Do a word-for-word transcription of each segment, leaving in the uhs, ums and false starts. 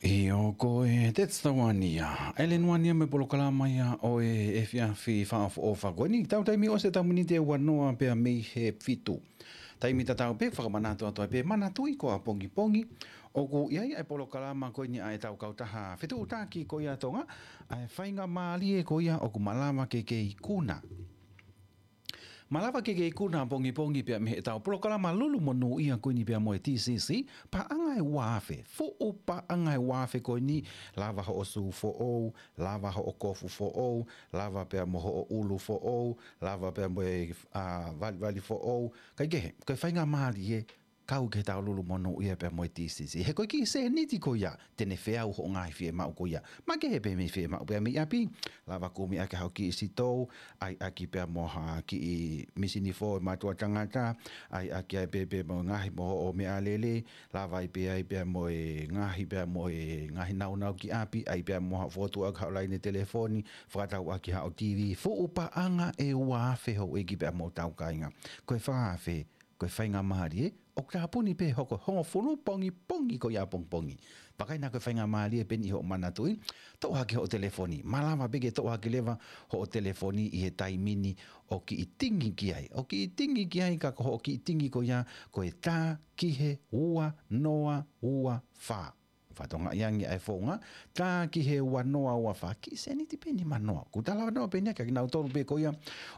ʻIo, ko e Tetsawani ia. ʻEleni Uania mo e polokalama ia ʻo e efiafi fakaʻofoʻofa ko eni. Tau taimi ʻosi e tau miniti ʻe uanoa pea mei he fitu. Taimi tatau pē, fakamanatu atu ai pē, manatuʻi ko ʻapongipongi ʻoku ʻi ai ʻa e polokalama ko eni ʻa e tau kautaha fetuʻutaki ko ia Tonga, ʻa e faingamālie ko ia ʻoku malava ke ke ikuna. Malava ke ke ikuna ʻapongipongi pea mei he tau polokalama lulu monūʻia ko eni pea mo e T C C, paʻanga ʻe ua afe, fuʻu paʻanga ʻe ua afe ko eni, lava hoʻo sū foʻou, lava hoʻo kofu foʻou, lava pea mo hoʻo ʻulu foʻou, lava pea mo e, ā, valivali foʻou, kae kehe, ko e faingamālie, kau ki he tau lulu monūʻia pea mo e T C C. He ko e kiʻi sēniti ko ia, te ne feau hoʻo ngaahi fiemaʻu ko ia. Makehe pē mei fiemaʻu pea mei ʻapi, lava kumi ʻaki haʻo kiʻi sitou, ʻai ʻaki pea mo ha kiʻi misini fō ʻo e mātuʻa tangata, ʻai ʻaki ai pē pea mo e ngaahi mo hoʻo meʻalele, lava ai pē ai pea mo e ngaahi pea mo e ngaahi naunau ki ʻapi, ʻai pea mo ha fotu ʻaki haʻo laine telefoni, fakatau ʻaki haʻo T V, fuʻu paʻanga ʻe ua afe houʻeiki pea mo tau kāinga. Ko e fā afe, ko e faingamālie, ʻoku tāpuni pē hoko hongofulu pongipongi ko ia ʻapongipongi. Pea ʻikai naʻa ko e faingamālie pē eni ʻi hoʻo manatuʻi, toʻo hake hoʻo telefoni, malava pē ke toʻo hake leva hoʻo telefoni ʻi he taimi ni ʻo kiʻi tingi ki ai. ʻO kiʻi tingi ki ai ka ko hoʻo kiʻi tingi ko ia, ko e tā ki he ua noa ua fā. Fakatokangaʻi ange ʻa e founga, tā ki he ua noa ua fā, kiʻi sēniti pē nima noa. Ko e talanoa pē eni ia kia kinautolu pē ko ia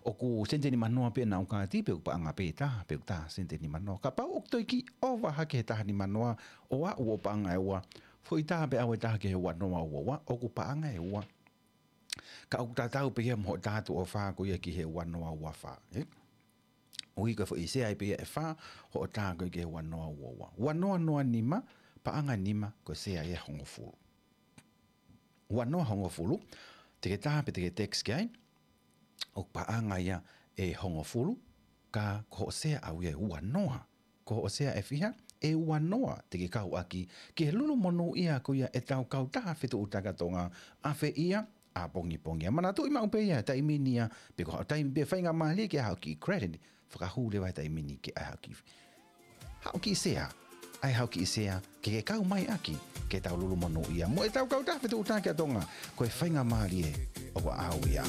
ʻoku sēniti nima noa pē ʻenau kāti, pe ʻoku paʻanga pē tā, pe ʻoku tā sēniti nima noa. Kapau ʻoku toe kiʻi ʻova hake he taha nima noa, ʻo aʻu ʻo paʻanga ʻe ua, foʻi tā pē ʻalu e taha ki he ua noa ua ua, ʻoku paʻanga ʻe ua. Ka ʻoku tatau pē ia mo hoʻo tā tuʻo fā ko ia ki he ua noa ua fā, ē? ʻUhi ko e foʻi sea ia pē ia ʻe fā, hoʻo tā ko ia ki he ua noa ua ua. Ua noa noa nima, paʻanga nima, ko e sea ia ʻe hongofulu. Ua noa hongofulu, te ke tā pe te ke text ki ai, ʻoku paʻanga ia ʻe hongofulu, ka ko hoʻo sea ʻaʻau ia ʻe ua noa. Ko hoʻo sea ʻe fiha, ʻe ua noa te ke kau ʻaki ki he lulu monūʻia ko ia e tau kautaha fetuʻutaki ʻa Tonga, ʻafeʻi ia ʻapongipongi. Manatuʻi maʻu pē ia, taimi ni ia, pe ko haʻo taimi pē faingamālie ke ʻai haʻo kiʻi credit, fakahū leva he taimi ni ke ʻai haʻo kiʻi, haʻo kiʻi sea, ʻai haʻo kiʻi sea, ke ke kau mai ʻaki ki he tau lulu monūʻia mo e tau kautaha fetuʻutaki ʻa Tonga, ko e faingamālie ʻoku ʻaʻau ia.